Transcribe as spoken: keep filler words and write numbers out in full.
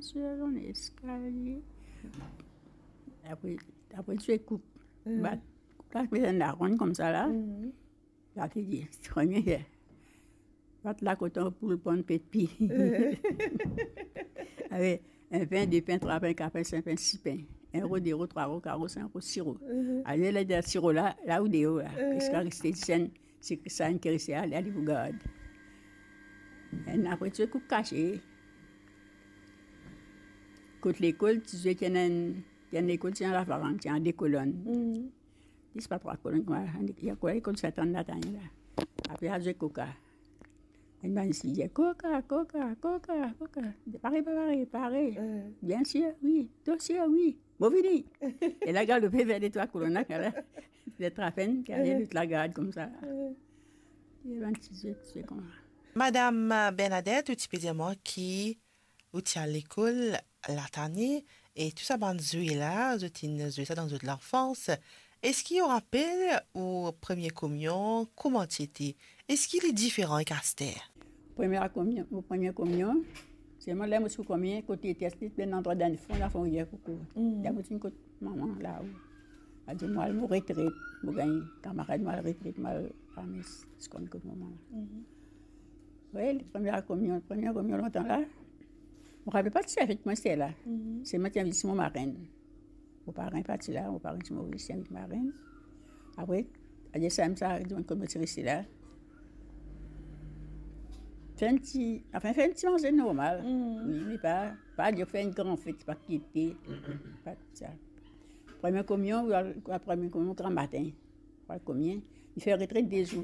Sir, on eskalie. Apre, apre ti koup. Mhm. Bat, bat met enn laronn koumsa la. Mhm. La ki dir, premie fer. Bat la koton pou pran pe pi. Ave, enn pen, de pen, trwa pen, kat pen, sink pen, sis pen. Enn ro, de ro, trwa ro, kat ro, sink ro, sis ro. Mhm. Ale, la, sis ro la, la ou deor la. Mhm. Ziska reste senn, se sa enn ki reste, ale, ale pou gard. Enn apre, ti koup kase. Kot lekol, ti zwe, ti ena enn, ti ena lekol, ti ena lavarang, ti ena de kolonn. Mhm. Dis pa trwa kolonn, kouma, ya kwa, lekol Sint-Ann Latanye la. Apre, a zwe koka. Enn bann ti dir, "Koka, koka, koka, koka. Pare, pa pare, pare." Mhm. "Bien sir, wi. Tro sir, wi. Mo vini." E la, galope ver de trwa kolonn la, la. Zot apeinn, ki ale, mhm, zot la gard koumsa. Mhm. E bann ti zwe, ti zwe kouma. Madam Bernadette, ou ti pe dir mwa ki ou ti al lekol Latanye, e tou sa bann zwe la, zot inn zwe sa dan zot lanfans. Eski ou rapel ou premie komion, kouma ti ete? Eski li diferan ek aster? Premie komion, mo premie komion, selman ler mo ti pou komie, kot li ete, ti enn landrwa dan fon, la fon rivier Koukou. Mm. La mo ti kot mama la ou. Al dir mo al mo retret, mo gagn kamarad, mo al retret, mo al ames, ti konn kot mama la. Mhm. Wi, premie komion, premie komion lontan la. Mo rapel pa ti fek mwa ser la. Mhm. Selman ti invit mo marenn. Mo parenn pa ti la, mo parenn ti Moris, ti invit marenn. Apre, adir samem sa, dimoun kouma ti reste la. Fer enn ti, anfin, fer enn ti manze normal. Mhm. Wi, me pa, pa dir fer enn gran fet, pa kite, pa tou sa. Premie komion, ou al, ou al premie komion gramatin. Ou al komie, li fer retret de zour.